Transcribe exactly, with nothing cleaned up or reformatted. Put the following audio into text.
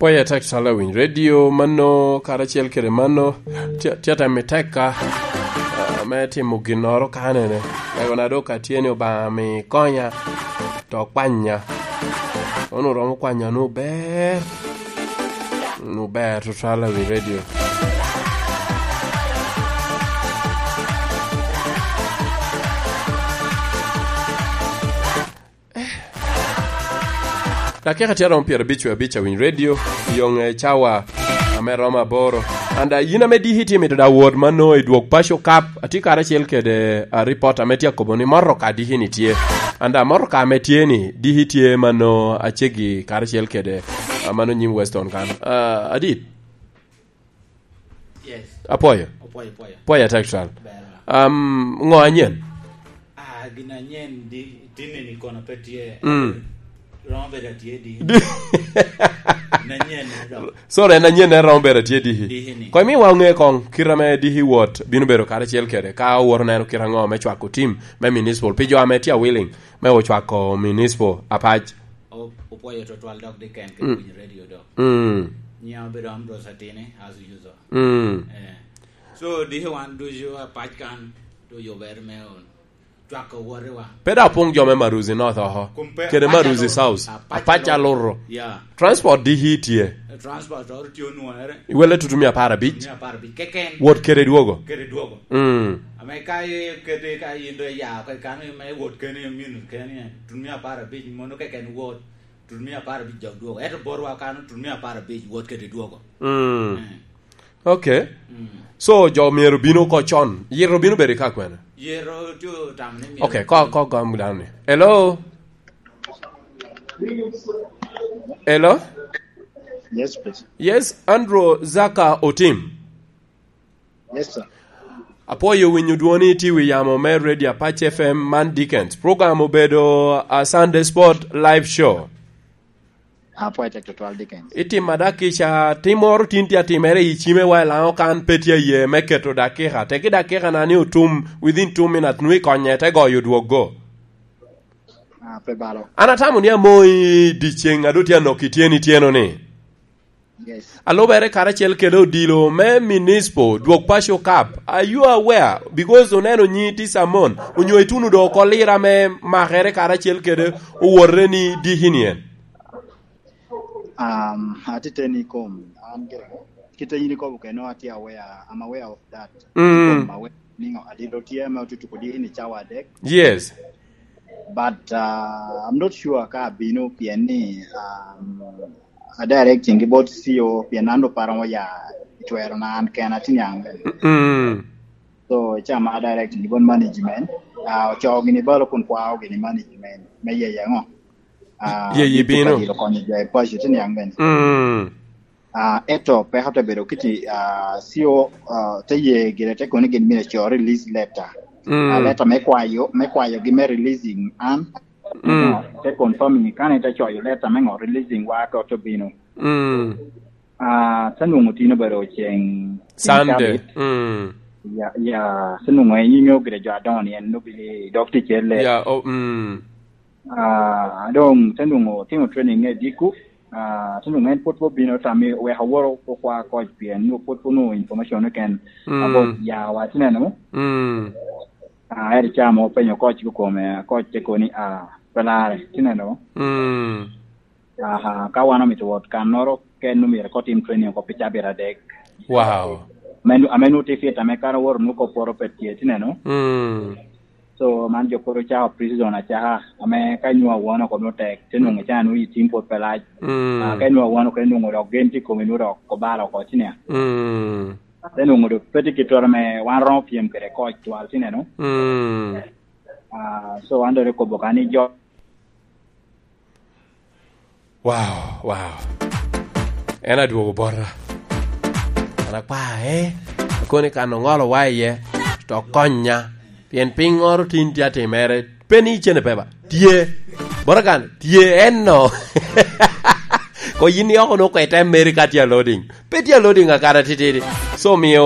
Apoya tek calo awiny radio mano, karacel kede mano, tye, tye atemo i tekka, ah, me timo ginnoro kanene. Ego na dok atye ni Obaŋa mi konya, to kwanya. Ono romo kwanya nu ber, nu ber tutwal awiny radio. Dakika tye aromo pyerabic wie abic awiny radio, yoŋe cawa ame romo aboro. And, uh, yin ame diki tye mito da wot mano i dwog Paco Cup, atye karacel kede, uh, ripot ame tye akobo ni motoka diki ni tye. And, uh, motoka ame tye ni diki tye mano acegi karacel kede, uh, mano nyim Weston kan. Uh, adit? Yes. Apoyo. Apoyo, apoyo. Apoyo atek twal. Ber. Um, ŋo anyen? Ah, gin anyen di, tinni ni kono pe tye. Mm. Romo bedo atye di. Di- Nanyen ni dok. Sorry, en anyen en romo bedo atye diki. Diki ni. Ko imiwa ŋe koŋ, kit ame diki wot, bino bedo karacel kede, ka owoto neno kit aŋo me cwako tim me municipal, pi jo ame tye a willing me ocwako municipal apac. O-, opwoyo tutwal dok di ken ke Mm. winyo radio dok. Mm. Nyiŋa obedo Ambrose Atini, as usual. Mm. Eh. So, diki wan ducu apac kan, to yubere me on. Cwako wotewa. Pe da pong jo me Maruzi North oko. Kum pe Kede apac Maruzi aluro. South. Apac Apac aluro. Aluro. Yeah. Transport diki tye. Eh, transport oro tye onwore. Iwele tutu mia apar abic. Mia apar abic. Keken. Wot kede dwogo. Kede dwogo. Mm. Ame ka i-, kede ka in do ya, ka kan me wot keni, minus keni, tun mia apar abic, mono keken wot, tun mia apar abic dok dwogo. Ento botwa kano, tun mia apar abic, wot kede dwogo. Mm. Mm. Okay. Mm. So, jo myero bino oko con. Yito bino bedo i ka kwene? Yito tye otamo ni myero Okay, ko, ko gam dano ni. Hello? Hello? Yes, please. Yes, Andrew Zaka Otim. Yes, sir. Apwoyo winyo dwoni tye wi yamo me Radio Apache F M, man Dickens. Program obedo a Sunday Sport Live Show. Apwoyo tek tutwal, Dickens. Itima dakica, tim moro tin tye atimere i cime wa i Laŋo kan pe tye aye me keto dakika. Teki dakika na ni otum within two minutes, nwe ikonye te goyo dwoggo. Ah, pe balo. An atamo ni amo i dyeceŋ a doŋ tye anok i tyeni tyeno ni. Yes. Alubere karacel kede odilo me Municipal, dwog Paco Cup. Are you aware? Because oneno nyi tye Samon, onyo ituno do oko lira me makere karacel kede owote ni diki ni en. Um, atiteni kom, an gire. Kite yin ikobo keno, atye aware, I'm aware of that. Mm. Kom aware ni adilo tye ame otutuko diki ni cawa adek. Yes. But, uh, I'm not sure ka abino pien ni, um, a directing gi bot C E O pien an do pe aromo ya i twero na an kena tye niaŋ bene. Mm. So, ca ma a directing gi bot management, uh, ocoo gini balo kun kwao gini management me yeye ŋo? Ah, Yeye bino. Dilo konyo jo i paco tye niaŋ bene. Mm. Ah, eto peko te bedo kiti, ah, C E O, ah, te ye gire te kono gin myero co release letter. Mm. Ah, letter me kwayo, me kwayogi me releasing an. Mm. Te confirming kan ite coyo letter me ŋo releasing wa ka ote bino. Mm. Ah, te nwoŋo tin obedo ceŋ, ceŋ Sunday. Cabit. Mm. Ya, ya, te nwoŋo en inyo gire jo adoŋo ni en obili dok ticelle. Ya, oh, mm. Ah, doŋ te nwoŋo otimo training i Diku. Ah, te nwoŋo en pwod pe obino tam i wek aworo okwa koc pien nwoŋo pwod pe onwoŋo information keken. Mm. About yawa, tineno. Mm. Ah, eri ca mo openyo koc kikome, koc te koni, ah, pe lare, tineno. Mm. Aha, ka wan omito wot kannoro, ken omyero kotim training oko pi cabit adek. Wow. Ame nu-, ame nwoŋo tye fit, ame kara woro nwoŋo kop poro pe tye, tineno. Mm. So, man jo pwod ocako pre-season acaka, ame ka inwoŋo awon oko nwoŋo tek, te nwoŋo icaa nwoŋo i tim pwod pe lac. Mm. Ah, ka inwoŋo awon oko, inwoŋo dok gen tye i komi, nwoŋo dok obalo oko, ci nia. Mm. Te nwoŋo dok pe tye gittoro ame wan romo pyem kede koc twal, ci neno. Mm. Ah, so, an dok ekobo ka ni jo Wow, wow. En adwogo bota. An akwa, eh, akoni kan oŋolo wa iye, to konya. Pien piŋŋoro tin tye atimere, pe ni icene pe ba. Tye. Bota kan, tye, en no. Ko yin ni oko nwoŋo kwete America tye a loading. Pe tye a loading akara titidi. So, miyo